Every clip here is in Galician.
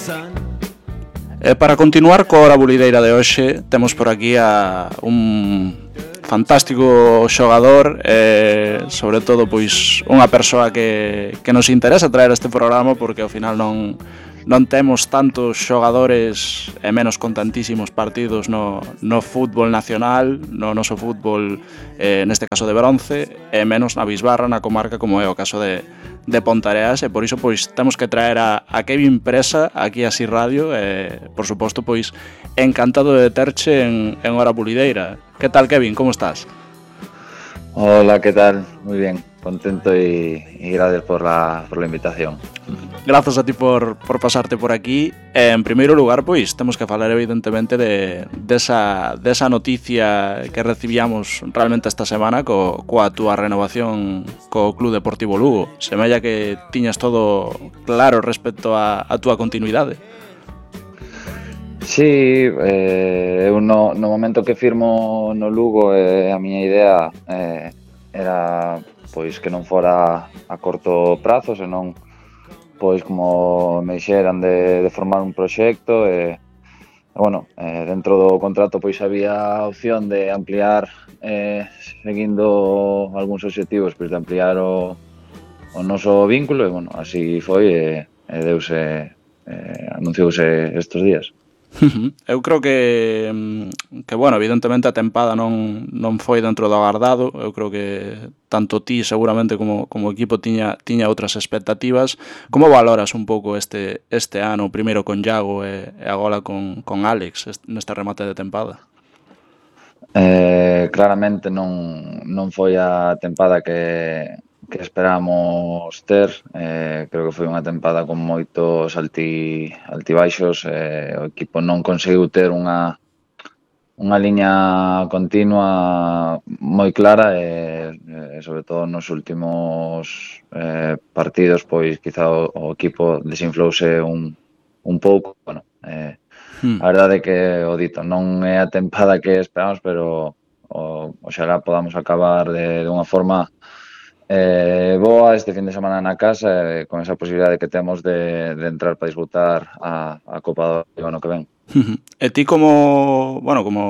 E para continuar coa hora bulideira de hoxe, temos por aquí a un fantástico xogador, sobre todo pois unha persoa que nos interesa traer este programa, porque ao final non temos tantos xogadores e menos con tantísimos partidos no fútbol nacional, no noso fútbol, neste caso de bronce, e menos na bisbarra, na comarca, como é o caso de Pontareas, e por iso pois temos que traer a Kevin Presa aquí a Si Radio, e por suposto pois encantado de terche en hora bulideira. Que tal, Kevin? Como estás? Hola, ¿qué tal? Muy bien, contento y gracias por la invitación. Grazas a ti por pasarte por aquí. En primeiro lugar, pois, temos que falar evidentemente desa noticia que recibíamos realmente esta semana coa túa renovación co Club Deportivo Lugo. Semella que tiñas todo claro respecto a túa continuidade. Sí, eu no momento que firmo no Lugo, a miña idea era pois que non fora a corto prazo, senón pois como me dixeran de formar un proxecto, bueno, dentro do contrato pois había a opción de ampliar, seguindo algúns obxectivos, pois de ampliar o noso vínculo, e bueno, así foi, e deuse, anunciouse estes días. Eu creo que bueno, evidentemente a tempada non foi dentro do agardado. Eu creo que tanto ti seguramente como o equipo tiña outras expectativas. Como valoras un pouco este ano, primeiro con Iago e agora con Alex neste remate de tempada? Claramente non foi a tempada que esperamos ter. Creo que foi unha tempada con moitos altibaixos. O equipo non conseguiu ter unha liña continua moi clara, e sobre todo nos últimos partidos pois quizá o equipo desinflouse un pouco. Bueno, a verdade é que o dito, non é a tempada que esperamos, pero oxalá podamos acabar de unha forma boa este fin de semana na casa, con esa posibilidade que temos de entrar para disputar a Copa do ano que ven. E ti como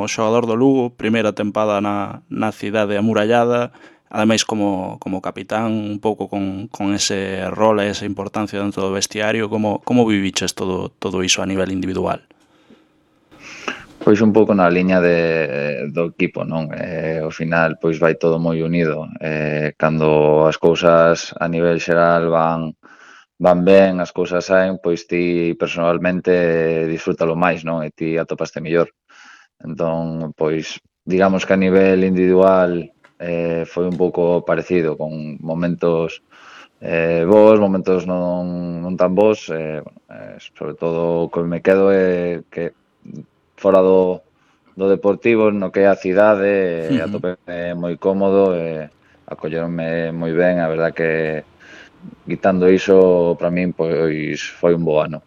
xogador do Lugo, primeira tempada na cidade amurallada, ademais como capitán, un pouco con ese rol e esa importancia dentro do vestiario, como viviches todo iso a nivel individual? Pois un pouco na liña do equipo, non? Ao final pois vai todo moi unido. Cando as cousas a nivel xeral van ben, as cousas saen, pois ti personalmente disfrútalo máis, non? E ti atopaste mellor. Entón, pois digamos que a nivel individual foi un pouco parecido, con momentos bons, momentos non tan bons. Sobre todo o que me quedo é que fora do Deportivo, no que é a cidade, atopeme moi cómodo, acolleronme moi ben. A verdad que quitando iso, para min pois foi un bo ano.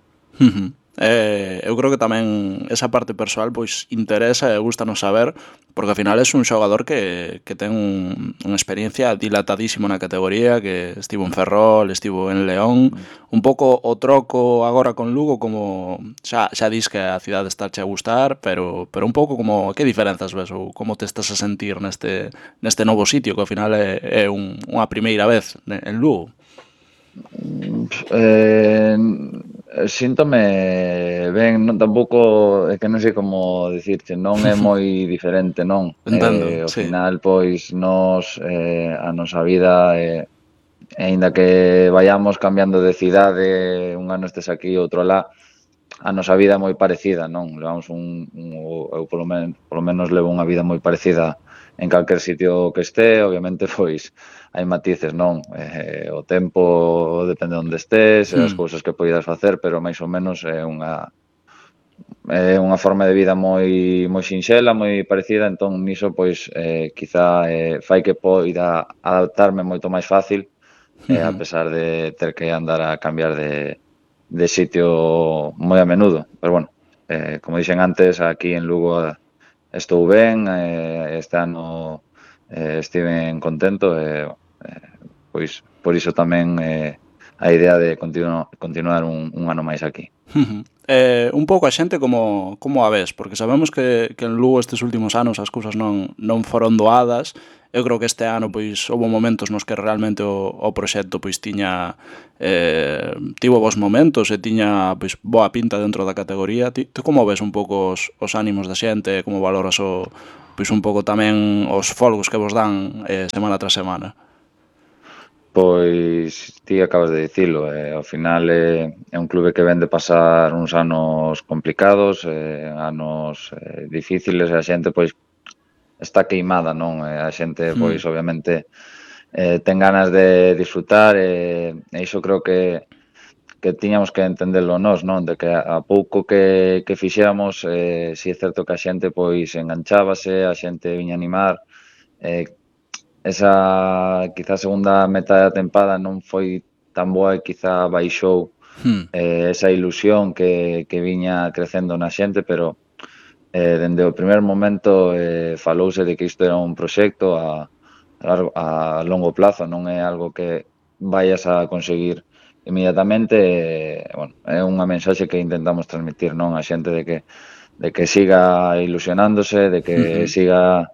Eu creo que tamén esa parte persoal pois interesa e gustanos saber, porque ao final é un xogador que ten unha experiencia dilatadísima na categoría, que estivo en Ferrol, estivo en León. Un pouco o troco agora con Lugo, como xa dis que a cidade estáche a gustar, pero un pouco como que diferenzas ves ou como te estás a sentir neste novo sitio, que ao final é unha primeira vez en Lugo? Síntome ben, non, tampouco é que non sei como dicirche, non é moi diferente, non? Entendo, Ao sí. final, pois, a nosa vida, aínda que vayamos cambiando de cidade, un ano estes aquí, outro alá, a nosa vida é moi parecida, non? Levamos eu polo menos levo unha vida moi parecida en calquer sitio que este. Obviamente, pois, hai matices, non? O tempo depende de onde estés, as cousas que poidas facer, pero máis ou menos é unha forma de vida moi sinxela, moi parecida. Entón, niso, pois, quizá fai que poida adaptarme moito máis fácil, a pesar de ter que andar a cambiar de sitio moi a menudo. Pero bueno, como dixen antes, aquí en Lugo estou ben. Este ano estiven contento, pois por iso tamén a idea de continuar un ano máis aquí. Un pouco a xente como a ves, porque sabemos que en Lugo estes últimos anos as cousas non foron doadas. Eu creo que este ano pois houve momentos nos que realmente o proxecto pois tivo bons momentos e tiña pois boa pinta dentro da categoría. Ti como ves un pouco os ánimos da xente, como valoras pois un pouco tamén os folgos que vos dan semana tras semana? Pois ti acabas de dicilo, ao final é un clube que ven de pasar uns anos complicados, anos difíciles, e a xente pois está queimada, non? A xente pois obviamente ten ganas de disfrutar, e iso creo que tiñamos que entendelo nós, non? De que a pouco que fixéramos, si é certo que a xente pois enganchábase, a xente viña a animar, esa quizá segunda metade da tempada non foi tan boa e quizá baixou esa ilusión que viña crecendo na xente, pero dende o primer momento falouse de que isto era un proxecto a longo plazo, non é algo que vayas a conseguir inmediatamente. Bueno, é unha mensaxe que intentamos transmitir, non, a xente de que siga ilusionándose, de que siga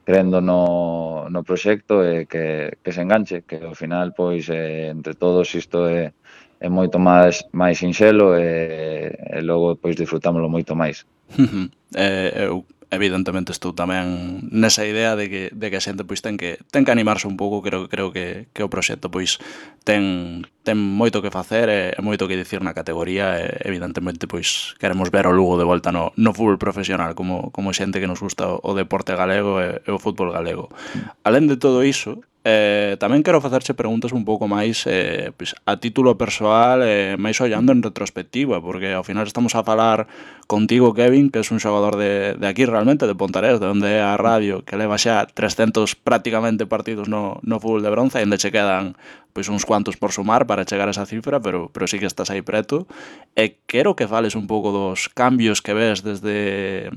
crendo no proxecto e que se enganche, que ao final, pois, entre todos isto é moito máis sinxelo e logo, pois, disfrutámoslo moito máis. Eu evidentemente estou tamén nesa idea de que a xente pois ten que animarse un pouco. Creo que o proxecto pois ten moito que facer e moito que dicir na categoría, e evidentemente pois queremos ver o Lugo de volta no fútbol profesional como xente que nos gusta o deporte galego e o fútbol galego. Alén de todo iso, tamén quero facerche preguntas un pouco máis pois, a título persoal, máis ollando en retrospectiva, porque ao final estamos a falar contigo, Kevin, que és un xogador de aquí realmente, de Pontarés, de onde é a radio, que leva xa 300 prácticamente partidos no fútbol de bronce, e ainda che quedan pois uns cuantos por sumar para chegar a esa cifra, pero sí que estás aí preto. E quero que fales un pouco dos cambios que ves desde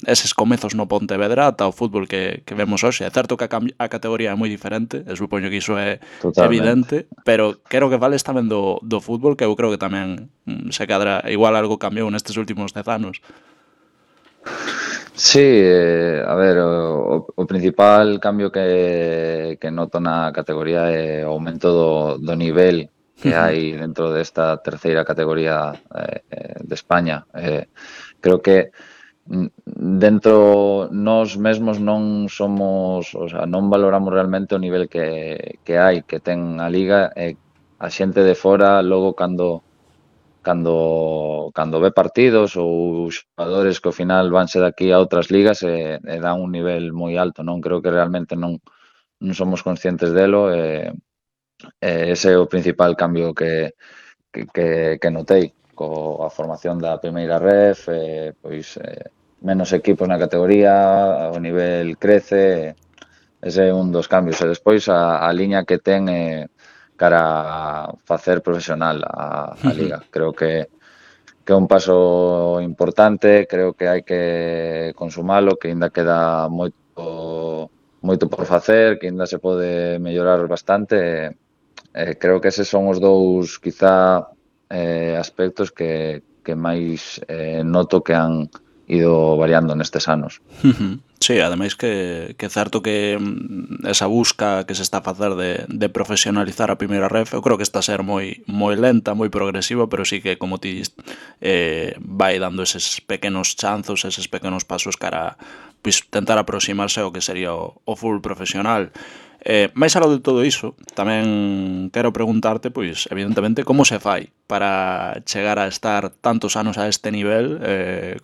eses comezos no Pontevedra ata o fútbol que vemos hoxe. É certo que a categoría é moi diferente, e supoño que iso é Totalmente. evidente, pero quero que fales tamén do fútbol, que eu creo que tamén se cadra, igual algo cambiou nestes últimos 10 anos. Sí, a ver, o principal cambio que noto na categoría é o aumento do nivel que hai dentro desta terceira categoría de España. Creo que dentro nós mesmos non somos, o sea, non valoramos realmente o nivel que hai, que ten a liga, e a xente de fora logo cando ve partidos ou xogadores que ao final vanse daqui a outras ligas e dan un nivel moi alto, non? Creo que realmente non somos conscientes delo, e ese é o principal cambio que notei coa formación da primeira ref, pois menos equipos na categoría, o nivel crece, ese é un dos cambios. E despois a liña que ten cara a facer profesional a liga. Creo que é un paso importante, creo que hai que consumalo, que ainda queda moito por facer, que ainda se pode mellorar bastante. Creo que eses son os dous, quizá, aspectos que máis noto que han ido variando nestes anos. Sí, ademais que é certo que esa busca que se está a facer de profesionalizar a primeira ref, eu creo que está a ser moi lenta, moi progresiva, pero sí que, como ti vai dando eses pequenos chanzos, eses pequenos pasos cara a pois, tentar aproximarse ao que sería o fútbol profesional. Mais aló de todo iso, tamén quero preguntarte, pois, evidentemente, como se fai para chegar a estar tantos anos a este nivel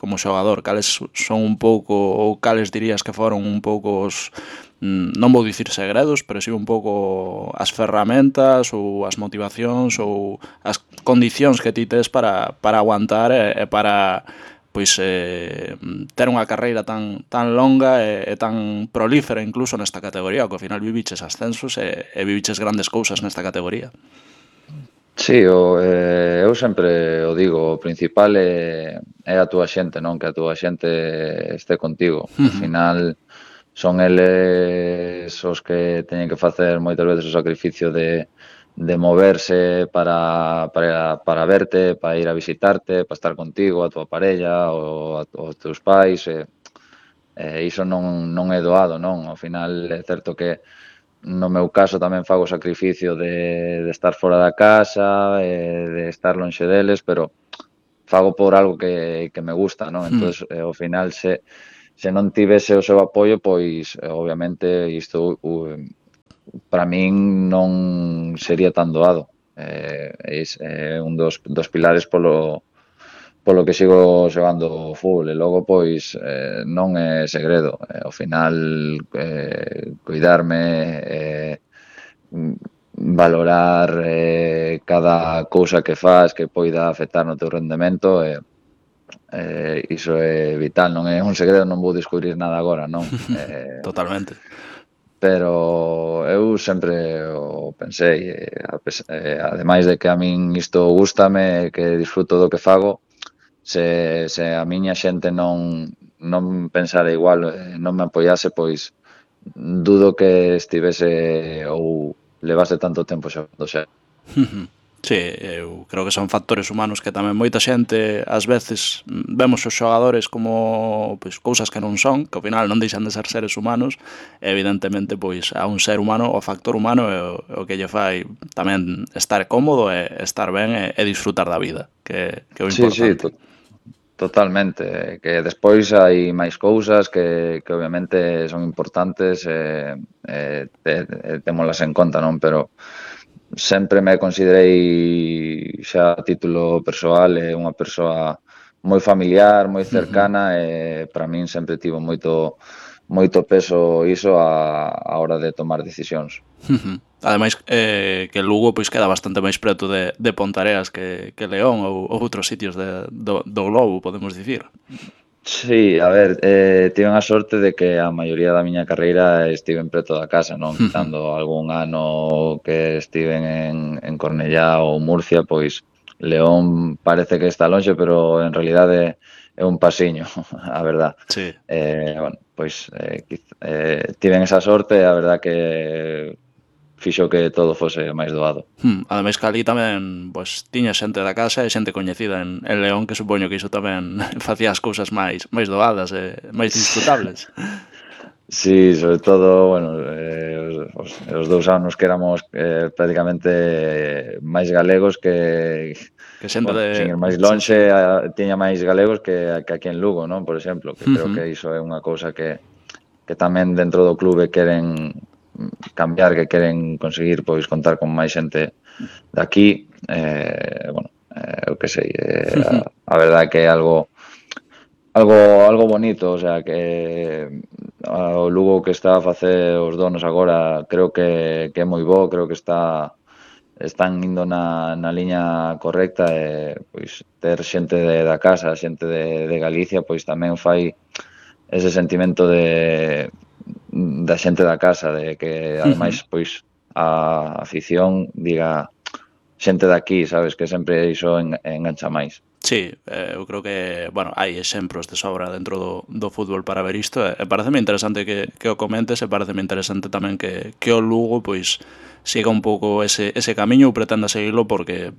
como xogador? Cales son un pouco, ou cales dirías que foron un pouco os, non vou dicir segredos, pero si un pouco as ferramentas ou as motivacións ou as condicións que ti tes para aguantar e para pois ter unha carreira tan longa e tan prolífera incluso nesta categoría, que ao final viviches ascensos e viviches grandes cousas nesta categoría. Sí, eu sempre o digo, o principal é a túa xente, non? Que a túa xente este contigo. Ao final son eles os que teñen que facer moitas veces o sacrificio de de moverse para verte, para ir a visitarte, para estar contigo, a tua parella ou aos teus pais, iso non é doado, non? Ao final é certo que no meu caso tamén fago o sacrificio de estar fora da casa, de estar lonxe deles, pero fago por algo que me gusta, non? Hmm. Entonces, ao final, se non tivese o seu apoio, pois, obviamente, isto para min non sería tan doado. É un dos pilares polo que sigo xogando fútbol e logo pois non é segredo, ao final cuidarme, valorar cada cousa que fas que poida afectar no teu rendemento iso é vital, non é un segredo, non vou descubrir nada agora, non? Totalmente. Pero eu sempre o pensei, ademais de que a min isto gústame, que disfruto do que fago, se a miña xente non pensara igual, non me apoiase, pois dudo que estivese ou levase tanto tempo xogando xa. Sí, eu creo que son factores humanos que tamén moita xente ás veces vemos os xogadores como pois cousas que non son, que ao final non deixan de ser seres humanos, e evidentemente pois a un ser humano o factor humano é o que lle fai tamén estar cómodo e estar ben e disfrutar da vida, que é o Sí, sí, importante. totalmente, que despois hai máis cousas que obviamente son importantes témolas en conta, non? Pero sempre me considerei xa a título persoal unha persoa moi familiar, moi cercana e para min sempre tivo moito peso iso a hora de tomar decisións. Ademais, que Lugo pois queda bastante máis preto de Pontareas que León ou outros sitios do globo, podemos dicir. Sí, a ver, tiven a sorte de que a maioría da miña carreira estiven preto da casa, non? Quitando algún ano que estiven en Cornellá ou Murcia, pois León parece que está lonxe, pero en realidade é un pasiño, a verdad. Sí. Bueno, pois tiven esa sorte e a verdad que fixo que todo fose máis doado. Ademais que ali tamén pois, tiña xente da casa e xente coñecida en León, que supoño que iso tamén facía as cousas máis doadas e máis disfrutables. Sí, sobre todo, bueno, os 2 anos que éramos prácticamente máis galegos Que xente bueno, de... sin ir máis Sí, sí. lonxe, tiña máis galegos que aquí en Lugo, non? Por exemplo, que creo que iso é unha cousa que tamén dentro do clube queren cambiar, que queren conseguir pois contar con máis xente de aquí, bueno, eu que sei, a verdade que é algo bonito, o sea, que o Lugo que está a facer os donos agora creo que é moi bo, creo que están indo na liña correcta e pois ter xente da casa, xente de Galicia, pois tamén fai ese sentimento da xente da casa, de que ademais pois a afición diga xente de aquí, sabes, que sempre iso engancha máis. Sí, eu creo que, bueno, hai exemplos de sobra dentro do fútbol para ver isto e pareceme interesante que o comentes e pareceme interesante tamén que o Lugo pois siga un pouco ese camiño ou pretenda seguirlo porque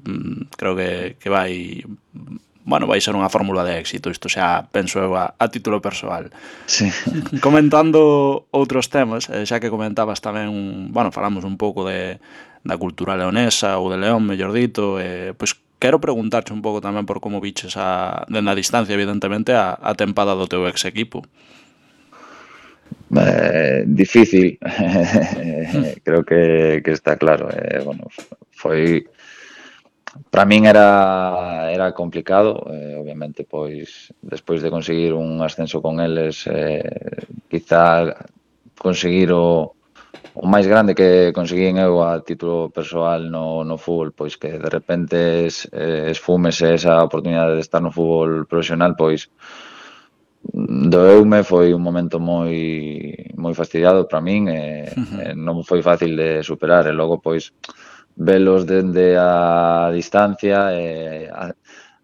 creo que vai bueno, vai ser unha fórmula de éxito, isto xa penso eu a título persoal. Sí. Comentando outros temas, xa que comentabas tamén, bueno, falamos un pouco da cultura leonesa ou de León, mellor dito, pois quero preguntarche un pouco tamén por como viches dende a distancia, evidentemente, a tempada do teu ex equipo. Difícil, creo que está claro. Bueno, foi para min era complicado, obviamente, pois despois de conseguir un ascenso con eles, quizá conseguir o máis grande que conseguín eu a título persoal no fútbol, pois que de repente esfúmese esa oportunidade de estar no fútbol profesional, pois doeume, foi un momento moi fastidiado para min e non foi fácil de superar e logo pois velos dende a distancia e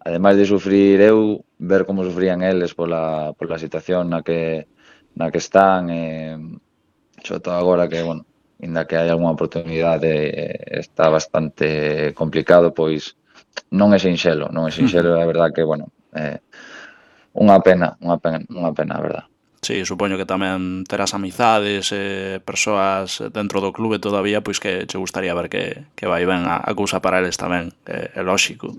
ademais de sufrir eu, ver como sufrían eles pola situación na que están sobre todo agora que, bueno, inda que hai algunha oportunidade, está bastante complicado, pois non é sinxelo, non é sinxelo, é verdad que, bueno, unha pena, a verdad. Sí, supoño que tamén terás amizades, persoas dentro do clube todavía, pois que che gustaría ver que vai ben a cousa para eles tamén, é lóxico.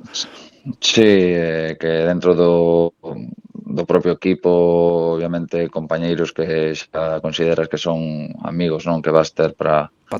Sí, que dentro do propio equipo, obviamente, compañeiros que xa consideras que son amigos, non? Que vas ter para